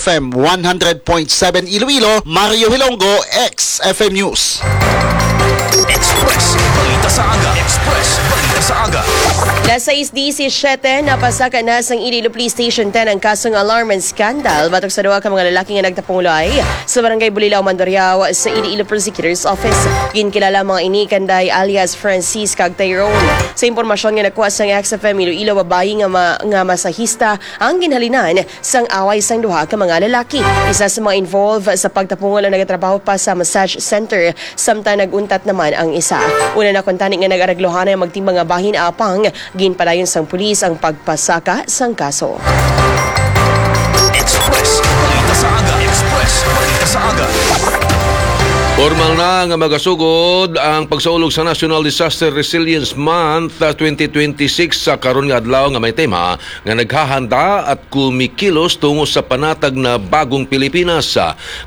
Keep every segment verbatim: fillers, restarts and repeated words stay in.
F M one hundred point seven Iloilo, Mario Hilonggo, X F M News. Express Balita sa Aga. Express Balita sa Aga. Las sais disisiete, napasaka na sang Iloilo Police Station ten ang kasong alarm and scandal batok sa duha ka mga lalaki nga nagtapungulay sa Barangay Bulilao, Mandurriao, sa Iloilo Prosecutor's Office. Ginkilala ang mga ini kanday alias Francis kag Tyrone. Sa impormasyon nga nakuha sang X F M Iloilo, babayi nga ma-, nga masahista ang ginhalinan sang away sang duha ka mga lalaki. Isa sa mga involved sa pagtapungol ang nagatrabaho pa sa massage center, samtang nag-untat naman ang isa. Una na kuntani nga nag-araglohan ang magtimbang nga bahin, apang ginpadayon sang pulis ang pagpasaka sang kaso. Express Balita sa Aga. Express Balita sa Aga. Formal na nga magasugod ang pagsaulog sa National Disaster Resilience Month, ah, twenty twenty-six sa karon nga adlaw, nga may tema nga naghahanda at kumikilos tungo sa panatag na bagong Pilipinas.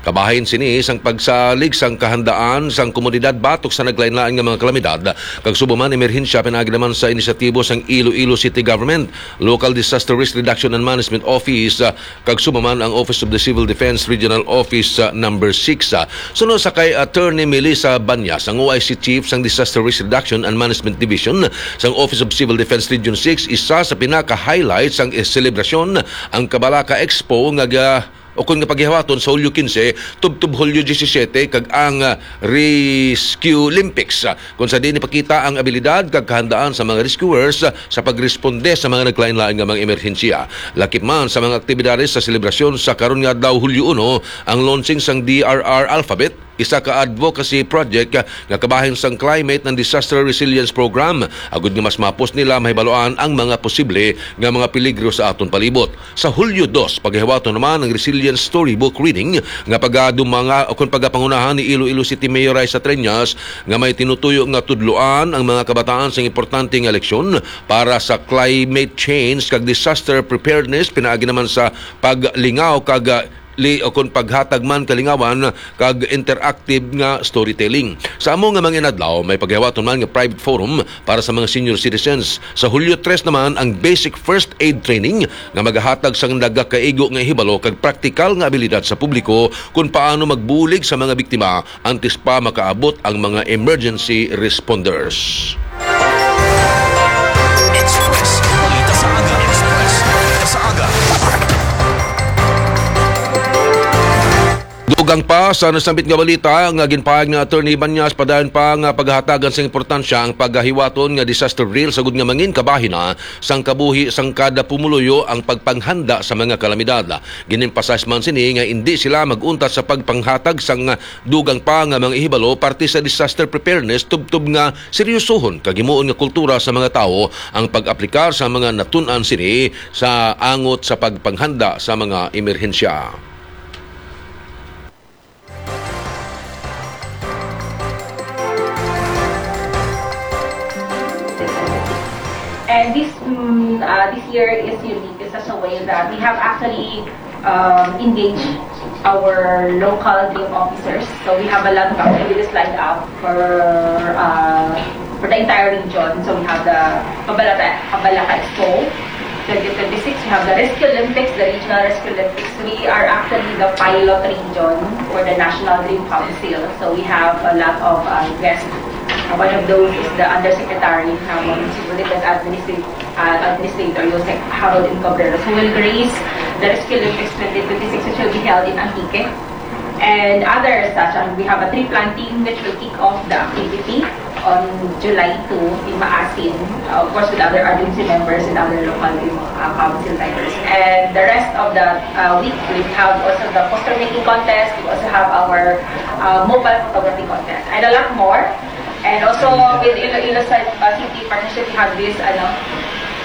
Kabahin sini sang pagsalig sang kahandaan sang komunidad batok sa naglain-lain nga mga kalamidad, kag subong man emerhensya, pinaagi naman sa inisyatibo sang Iloilo City Government, Local Disaster Risk Reduction and Management Office, ah, kag subong man ang Office of the Civil Defense Regional Office, ah, Number Six. Ah, suno sa kay Attorney Melissa Banyas, ang O I C Chief sang Disaster Risk Reduction and Management Division sang Office of Civil Defense Region Six, isa sa pinaka-highlight sang selebrasyon ang Kabalaka Expo nga ga-, o kun nga paghihawaton sa Hulyo quince tubtob Hulyo disisiete, kag ang, ah, Rescue Olympics, ah, kung sa diin ipakita ang abilidad kag kahandaan sa mga rescuers, ah, sa pagresponde sa mga naglain-lain nga mga emerhensya. Lakip man sa mga aktibidades sa selebrasyon sa karon nga adlaw, Hulyo uno, ang launching sang D R R Alphabet, isa ka advocacy project, ah, nga kabahin sang Climate and Disaster Resilience Program, agud nga mas mapos nila mahibaluan ang mga posible nga mga peligro sa aton palibot. Sa Hulyo dos, paghihawaton naman ang Resilience Storybook Reading nga pagadumanga o kon pagapangunahan ni Iloilo City Mayor Raisa Treñas, nga may tinutuyo nga tudloan ang mga kabataan sa importante nga leksyon para sa climate change kag disaster preparedness, pinaagi naman sa paglingaw kag, ah, li-, o kon paghatag man kalingawan kag interactive nga storytelling. Sa amo nga mga inadlaw, may paghihawaton man nga private forum para sa mga senior citizens. Sa Hulyo tres naman ang basic first aid training nga magahatag sang nagakaigo nga hibalo kag praktikal nga abilidad sa publiko kon paano magbulig sa mga biktima antes pa makaabot ang mga emergency responders. Express Balita sa Aga. Express Balita sa Aga. Dugang pa sa nasambit nga balita nga ginpahayag ni Attorney Banyas, padayon pa nga paghatagan sang importansya ang paghiwaton nga disaster drill, sagod nga mangin kabahin na sang kabuhi sang kada pumuluyo ang pagpanghanda sa mga kalamidad. Gin-emphasize man sini nga indi sila mag-untat sa pagpanghatag sang dugang pa nga mga ihibalo parte sa disaster preparedness, tubtob nga seryosohon kag himuon nga kultura sa mga tawo ang pag-aplikar sa mga natun-an sini sa angot sa pagpanghanda sa mga emerhensya. And this, mm, uh, this year is unique in such a way that we have actually, um, engaged our local DRRM officers. So we have a lot of activities lined up for, uh, for the entire region. So we have the Kabalaka, Kabalaka Expo twenty twenty-six. We have the Rescue Olympics, the Regional Rescue Olympics. We are actually the pilot region for the National DRRM Council. So we have a lot of, uh, guests. Uh, one of those is the Undersecretary, uh, Municipal Defense Administrator, uh, Administrator Jose Harold M. Cabreros, who will grace the Rescue Olympics twenty twenty-six, which will be held in Antique. And other such, um, we have a tree planting which will kick off the activity on July two in Maasin, uh, of course, with other R D M C members and other local, uh, council members. And the rest of the, uh, week, we have also the poster making contest. We also have our, uh, mobile photography contest and a lot more. And also with Iloilo Ci-, uh, City Partnership, we have this, ano,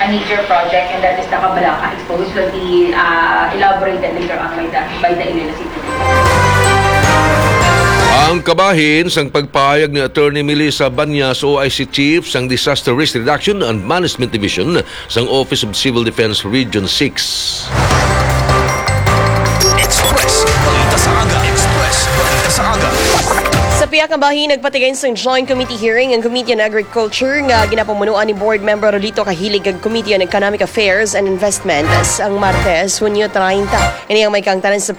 a major project, and that is the Kabalaka Expo, which will be, uh, elaborated later on by the, by the Iloilo City. Ang kabahin sang pagpahayag ni Attorney Melissa Banyas, O I C Chief sang Disaster Risk Reduction and Management Division sang Office of Civil Defense Region six. Express Balita sa Aga. Express Balita sa Aga. Sa pihak nga bahin, nagpatigay sang joint committee hearing ang Committee on Agriculture nga ginapamunuan ni Board Member Rolito Kahilig kag Committee on Economic Affairs and Investment sang Martes, Hunyo treinta. Ini ang may kaangtanan sa